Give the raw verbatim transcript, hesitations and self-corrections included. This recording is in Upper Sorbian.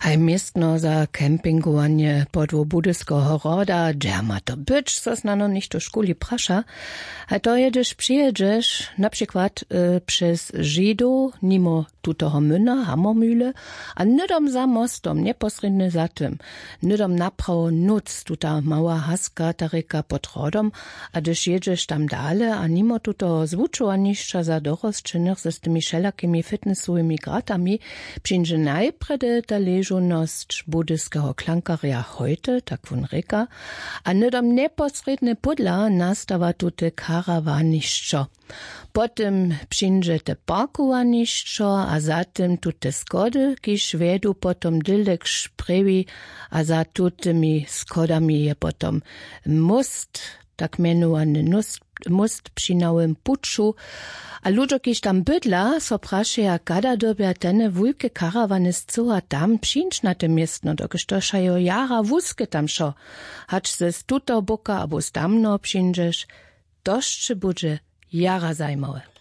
Haj městno za campingowanje podłu budyskeho hroda, dźe ma to być, so snano něchto w šuli praša. A to je hdyž přijědźeš na přikład přez židow nimo tutoho myna hamormühle, a hnydom za mostom njeposrědnje za tym, hnydom naprawo nóc tuta mała haska ta rěka pod hrodom. A hdyž jědźeš tam dale a nimo tutoho zwučowanišća za dorosćenych z tymi wšelakimi fitnessowymi gratami, přińdźe najprjedy ta ležownosć budyskeho klankarja hojty, tak wón rěka. A hnydom njeposrědnje pódla nastawa tute karawanišćo. Potom přińdźe te parkowanišćo a za tym tute schody, kiž wjedu potom dylde k šprjewi. A za tutymi schodami je potom móst, tak mjenowany móst při nowym puću. A ludźo, kiž tam bydla, so prašeja, kada dyrbja tene wulke karawany scyła tam přińć na te městno, dokelž to wšajo jara wuske tam wšo. Hač se z tutoho boka abo z tamnoho přińdźeš, to sće budźe jara zajimawe.